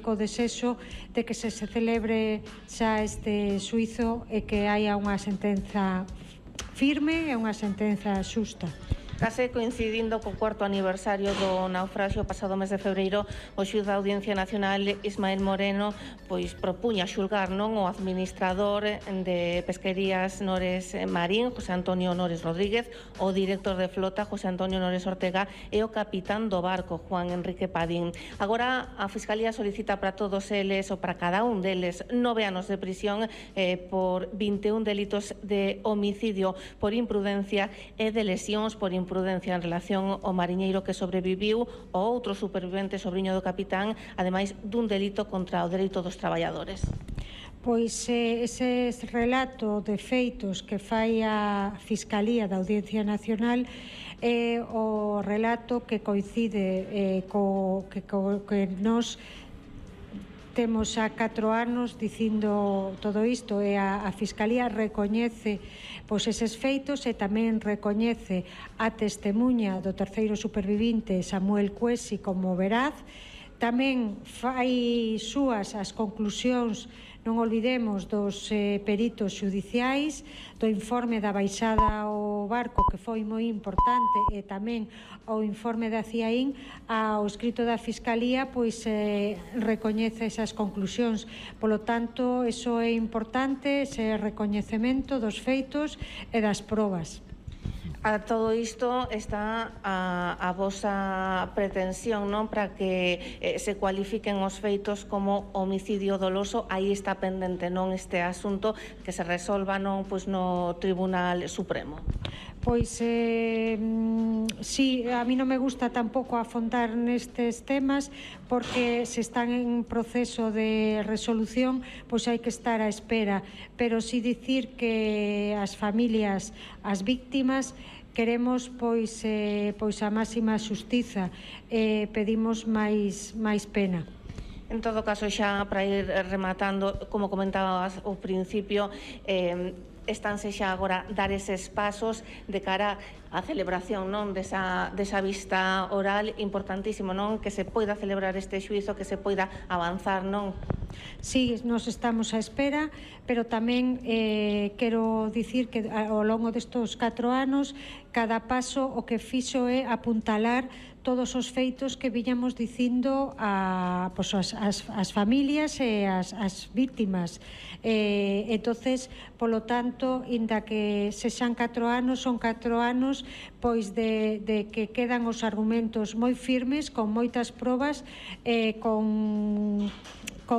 co desexo de que se celebre xa este xuízo e que haya unha sentenza firme e unha sentenza xusta. Case coincidindo co cuarto aniversario do naufraxio pasado mes de febreiro, o xuíz da Audiencia Nacional Ismael Moreno pois propuña xulgar non o administrador de Pesquerías Nores Marín, José Antonio Nores Rodríguez, o director de flota, José Antonio Nores Ortega, e o capitán do barco, Juan Enrique Padín. Agora a Fiscalía solicita para todos eles, ou para cada un deles, 9 anos de prisión por 21 delitos de homicidio por imprudencia e de lesións por imprudencia en relación ao mariñeiro que sobreviviu o outro supervivente sobriño do capitán, ademais dun delito contra o dereito dos traballadores. Pois ese relato de feitos que fai a Fiscalía da Audiencia Nacional é o relato que coincide que nos temos a 4 anos dicindo todo isto, e a Fiscalía recoñece pois eses feitos e tamén recoñece a testemuña do terceiro supervivinte Samuel Cuesi como veraz. Tamén fai súas as conclusións, non olvidemos, dos peritos xudiciais, do informe da baixada ao barco, que foi moi importante, e tamén o informe da CIAIN. Ao escrito da Fiscalía pois recoñece esas conclusións. Polo tanto, iso é importante, ese recoñecemento dos feitos e das probas. A todo isto está a vosa pretensión, non, para que se cualifiquen os feitos como homicidio doloso. Aí está pendente, non, este asunto que se resolva, non, pois no Tribunal Supremo. Pois sí, a mí non me gusta tampouco afondar nestes temas, porque se están en proceso de resolución, pois hai que estar á espera, pero si dicir que as familias, as víctimas, queremos pois a máxima xustiza, pedimos máis pena. En todo caso, xa para ir rematando, como comentabas ao principio, estánse xa agora dar eses pasos de cara á celebración, non, desa vista oral, importantísimo, non, que se poida celebrar este xuízo, que se poida avanzar, non? Sí, nos estamos á espera, pero tamén quero dicir que ao longo destos 4 anos cada paso o que fixo é apuntalar todos os feitos que viñamos dicindo as familias e as víctimas. Entonces, polo tanto, inda que sexan 4 anos, son 4 anos pois de que quedan os argumentos moi firmes, con moitas probas, con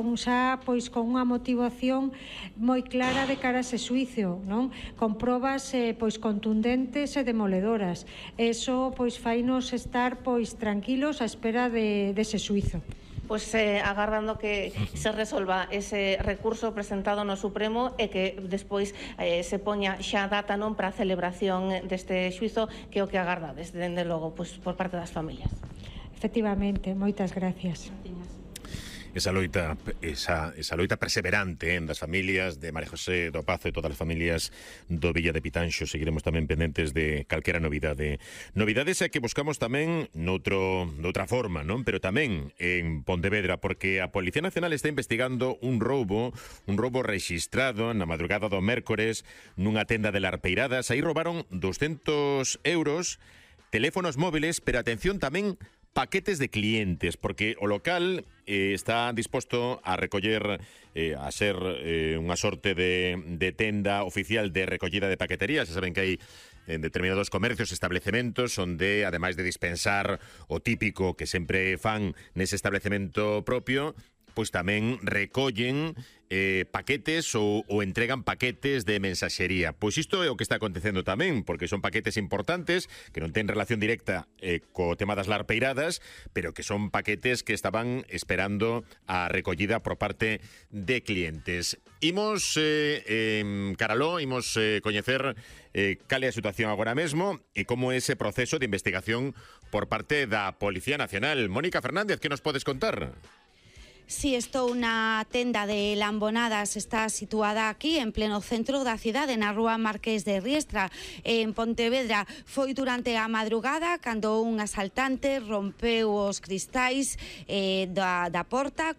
unha motivación moi clara de cara a ese xuízo, non? Con probas pois contundentes e demoledoras. Eso pois fainos estar pois tranquilos á espera dese xuízo. Pois agardando que se resolva ese recurso presentado no Supremo e que despois se poña xa data, non, para a celebración deste xuízo, que é o que agardades, dende logo, pois por parte das familias. Efectivamente, moitas gracias. Esa loita perseverante das familias de María José do Pazo e todas as familias do Villa de Pitanxo. Seguiremos tamén pendentes de calquera novidade. Novidades é que buscamos tamén noutra forma, non? Pero tamén en Pontevedra, porque a Policía Nacional está investigando un roubo rexistrado na madrugada do mércores nunha tenda de Larpeiradas. Aí roubaron 200 euros, teléfonos móviles, pero atención tamén, paquetes de clientes, porque o local está disposto a recoller, a ser unha sorte de tenda oficial de recollida de paquetería. Se saben que hai en determinados comercios, establecementos, onde, ademais de dispensar o típico que sempre fan nese establecemento propio, pois tamén recollen paquetes ou entregan paquetes de mensaxería. Pois isto é o que está acontecendo tamén, porque son paquetes importantes que non ten relación directa co tema das larpeiradas, pero que son paquetes que estaban esperando a recollida por parte de clientes. Imos caraló, imos coñecer cal é a situación agora mesmo e como é ese proceso de investigación por parte da Policía Nacional. Mónica Fernández, que nos podes contar? Si, estou na tenda de Lambonadas, está situada aquí en pleno centro da cidade, na rúa Marqués de Riestra, en Pontevedra. Foi durante a madrugada cando un asaltante rompeu os cristais da porta